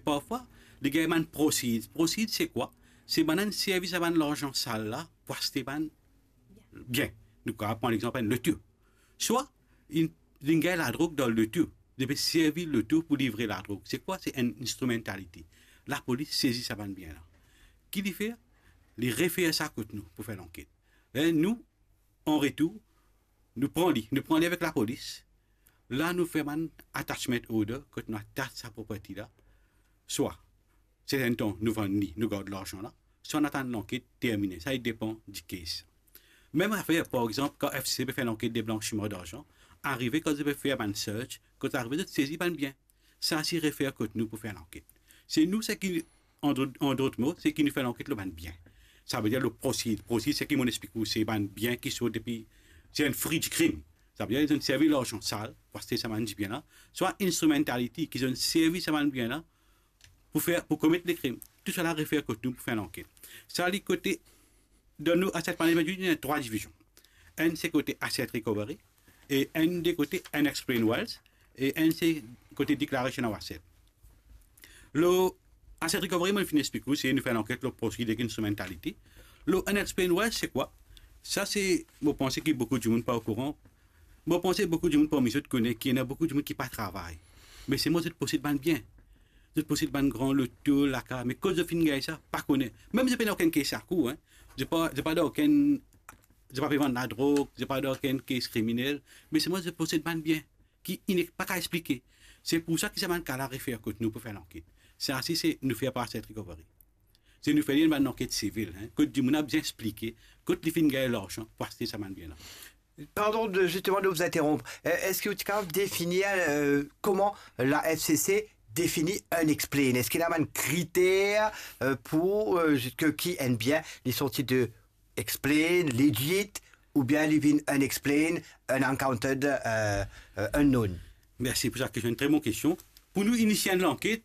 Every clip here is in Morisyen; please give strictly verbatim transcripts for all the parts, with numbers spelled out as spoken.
Parfwa, li gagn bann prosid. Prosid, se kwa? Se bann servi sa bann larzan sal la pou aste bann bien. Nou kapav pran lexanp enn loto. Swa, li, li gagn ladrog dan loto. Li pe servi loto pou livre ladrog. Se kwa? Se enn instrumentality. Lapolis sezi sa bann bien la. Ki li fer? Li refer sa kot nou pou fer lanket. E nou, an retour, nou pran li, nou pran li avek lapolis. La, nou fer bann attachment order, kot nou atas sa property la. Swa, serten tan, nou vann li, nou gard larzan la, swa nou atann lanket termine. Sa, li depan di case. Mem zafer, par exanp, kan F C C pe fer lanket de blansiman darzan, arive kan zot pe fer bann search, kan zot arive, zot sezi bann bien. Sa, se refer kot nou pou fer lanket. Se nou, seki, an dot, an dot mo, seki nou fer lanket lor bann bien. Savedir lor prosid. Prosid, seki mo explik ou, se bann bien ki sort depi, se enn fri dikrim. Savedir, zot inn servi larzan sal pou aste sa bann dibien la. Swa instrumentality, ki zot inn servi sa bann bien la pou fer, pou komet lekrim. Tou sa la refer kot nou pou fer lanket. Sa, li kote, dan nou asset management unit, ena trwa divizion. Enn se kote asset recovery, e enn de kote unexplained wealth, e enn se kote declaration of asset. Lor asset recovery, mo finn explik ou, se nou fer lanket lor prosid ek instrumentality. Lor unexplained wealth, se kwa? Sa, se, mo panse ki boukou dimoun pa okouran. Mo panse boukou dimoun parmi zot kone ki ena boukou dimoun ki pa travay. Me selman zot posed bann bien. Zot posed bann gran loto, lakaz, me kot zot finn gagn sa, pa kone. Mem zot pena okenn case lakour, hein. Zot pa, zot pa dan okenn, zot pa pe vann ladrog, zot pa dan okenn case kriminel, me selman zot posed bann bien ki inn pa kapav explike. Se pou sa ki sa bann ka la refer kot nou pou fer lanket. Sa, si se nou fer par asset recovery. Se nou fer li enn bann lanket sivil, hein, kot dimoun la bizin explike kot li finn gagn larzan pou aste sa bann bien la. Pardon de, justement, de vous interrompre. Euh, est-ce que vous pouvez définir, euh, comment la F C C définit unexplained? Est-ce qu'il y a un critère, euh, pour, euh, que, qui aime bien les sorties de explain, legit, oubien li vinn unexplained, unaccounted, euh, euh, unknown? Mersi pou sa kestion, tre bon kestion. Pou nou inisye enn lanket,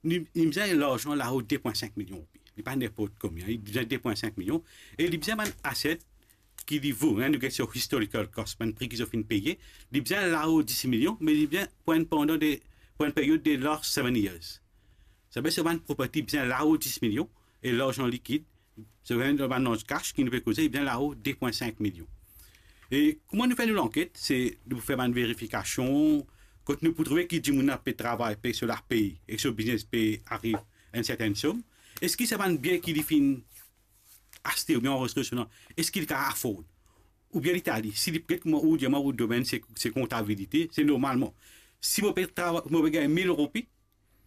li, li bizin larzan lao de pwin sink milion roupi. Li pa ninport konbien, li bizin de pwin sink milion. E li bizin bann asset ki li vo, hein, nou get so historical cost, bann pri ki zot finn peye. Li bizin lao dis milion, me li bizin pou enn pandan de, pou enn peryod de last seven years. Savedir se bann property bizin lao dis milion, e larzan likid, se bann, bann larzan cash ki nou pe koze, bizin lao de pwin sink milion. E kouma nou fer nou lanket, se nou pou fer bann verifikasion, kot nou pou trouve ki dimoun la pe travay, pe so lapey, e so biznes pe ariv enn sertenn som. Eski sa bann bien ki li finn aste oubien anrezistre so nom, eski li kapav afford? Oubien li tali, si li get kouma ou dir mwa, ou domenn se, se kontabilite, se normalman. Si mo pe trava-, mo pe gagn mil roupi,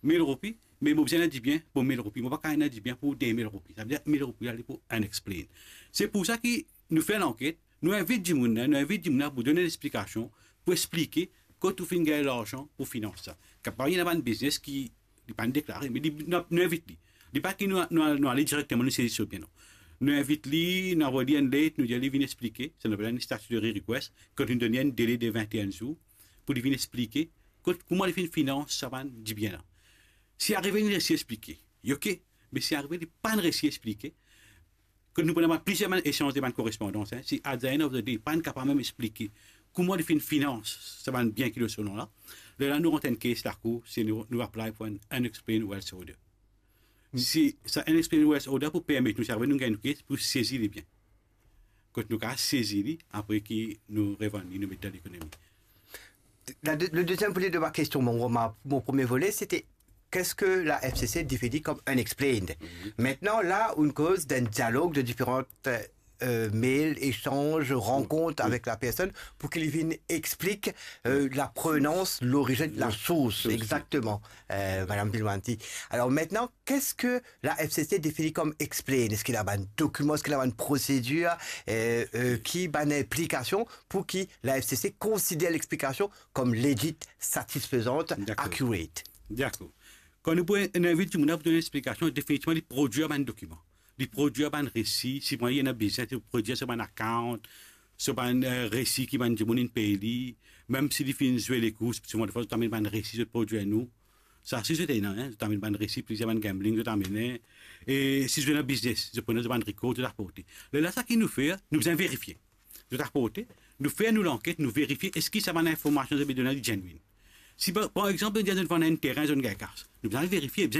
mil roupi, me mo bizin enn dibien pou mil roupi. Mo pa kapav ena dibien pou de mil roupi. Savedir mil roupi la, li pou unexplained. Se pou sa ki nou fer lanket, nou invit dimoun la, nou invit dimoun la pou donn enn explikasion, pou explike kot ou finn gagn larzan pou finans sa. Kapav ena bann biznes ki li pa'nn deklare, me li, nou, nou invit li. Li pa ki nou, nou, nou ale direkteman, nou sezi so bien, non. Nou invit li, nou avoy li enn let, nou dir li vinn explike, sa nou apel enn statutory request, kot nou donn li enn dele de vinte-et-un zour, pou li vinn explike kot, kouma li finn finans sa bann dibien la. Si arive li resi explike, li ok, me si arive li pa'nn resi explike, kot nou pou ena plizier bann esanz de bann korespondans, hein, si at the end of the day, pa'nn kapav mem explike kouma li finn finans sa bann bien ki lor so nom la, lerla nou rant enn case lakour, si nou, nou apply pou enn unexplained wealth order. Si sa unexplained wealth order pou permet nou, si arive nou gagn nou case, pou sezi li bien. Kot nou kapav sezi li, apre ki nou revann li, nou met dan lekonomi. La de-, le deuxième volet de ma question, mon, ma, mon premier volet, c'était qu'est-ce que la F C C définit comme unexplained? Mhm. Maintenant, là, on cause d'un dialogue de différentes, euh, mails, échanges, rencontres avec la personne pour qu'il vienne explique, euh, la provenance, l'origine, la source, exactement, euh, Madame Bilwanti. Alors maintenant, qu'est-ce que la F C C définit comme explain? Est-ce qu'il a un document, est-ce qu'il a une procédure, euh, euh, qui a une implication pour que la F C C considère l'explication comme legit, satisfaisante, accurate? Dakor. Kan nou pou invit dimoun la pou donn explikasion, definitivman li prodwir bann dokiman. Li prodwir bann resi, si bann ena bizin, li prodwir so bann account, so bann, eh, resi ki bann dimoun inn pey li, mem si li finn zwe lekours, souvan defwa zot amenn bann resi zot prodwir nou. Sa si zot ena, hein, zot amenn bann resi, plizier bann gambling zot amenn, e si zot ena biznes, zot pran zot bann record, zot aporte. Lerla sa ki nou fer, nou bizin verifie. Zot aporte, nou fer nou lanket, nou verifie eski sa bann informasion zot pe donn la li genuine. Si par, par exanp, zot dir zot vann enn terin, zot gagn kas, nou bizin al verifie, bizin